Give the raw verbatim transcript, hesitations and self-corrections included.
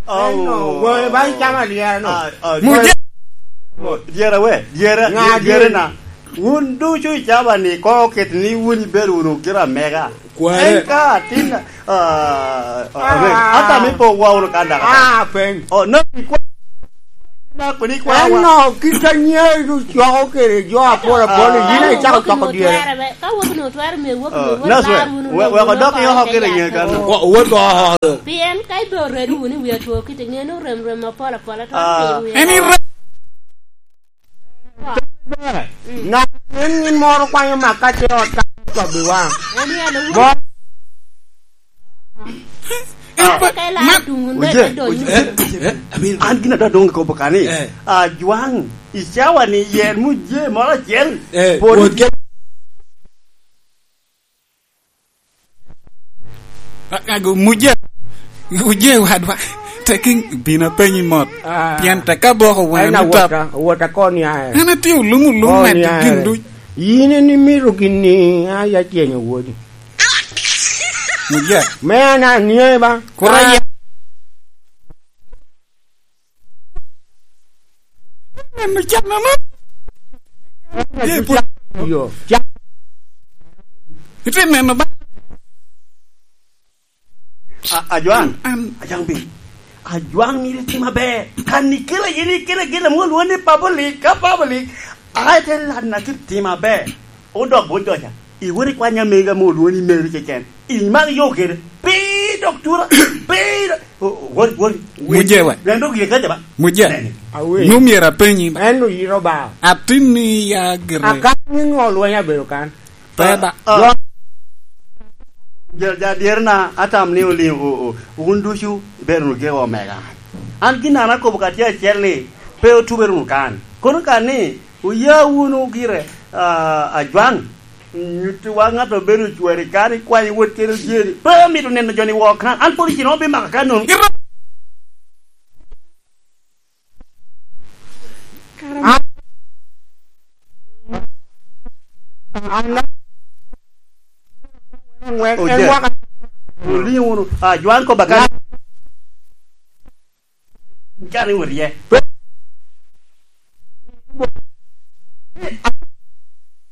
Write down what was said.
Oh. Eno, goyo ba icamo alyera no. Ah, ah, Muje. Dyera we, dyera, Ŋa dyera dyeri? Na. Wun ducu i caba ni, ko oket ni wun ibedo wunu gira mega. Kware. En ka atin, ah, ah, ah, ata mi po wa wunu kan daka. Ah, peny. Oh, no, ikwa-, na kuni kwa wa. Eno, kit a nyeru coko kede jo apol apol, ah, yin icako coko dyere. Ka wok nu twero me wok, ah, nu wot nas we, lar wunu we, we, we, kodok i oko kede nge kan. Wa-, wot ko oko. Pien ka ibe oredo wunu i wi atwo kite, ŋe ni orem rem apol apol, atwero, ah, piny wi en oko. Ŋat en ŋin moro kwanyo mak ka te ot ka cobiwa. En alo wunu. Mo- En pa-, ka ilaro man- tuŋ wunu, oje, dek adonyo. Oje, eh, eh, Abin. An gin adwa doŋ kobo kani. Eh. Ajwaŋ, icawa ni yen Muje moro acel. Eh, pwod wot ke- A-, ago, Muje, Muje wadwa, tek in-, bin apenyi mot. Ah. Pien tek aboko wena. En ni tap. Awota, awota koni aye. An atye olum, olum. Koni aye. Gin duc. Yin en imito gin ni, a, ya chenyo wodi. Muje. Me an anie ba. Kura ya. Neno can ame. Ye pwod. Yo. Ite neno ba. A, Ajwaŋ. An. Ajwaŋ bin. Ajwaŋ myero itim aber. Kan ikela yin ikela gin ame olwoŋo ni public, ka public. Ai te lan na kit tim aber. Odok bo joca. Iwot ikwany amega mo olwoŋo ni Mary keken. Imak yo kede. Pi dok tura. Pi do-, o-, o-, wot, wot. Muje wa. Ren dok ye kaca ba. Muje. Nene. Awe. Nu myero apenyi ba. En oyiro ba. Atin ni ya gire. Akan ni ŋo lweny abedo kan? Pe ba. Ah, ah. Jo-, ja, ja dyerna, atam ni oliŋ, o-, o-, wun ducu ibedo wunu geko omega. An gin an akobo ka tye acel ni, pe otubere wunu kan. Kono kan ni, oya wunu gire, ah, Ajwaŋ, nyuttiwa ŋat obedo ocwari kan, ikwanyo wot kede ojeri. Pe amito neno jo-ni woko kan. An pwod icino obimaka kan nono. An, an, an, en waka. Oliŋo wunu. Ah, Ajwaŋ kobba kan. Can iwot iye.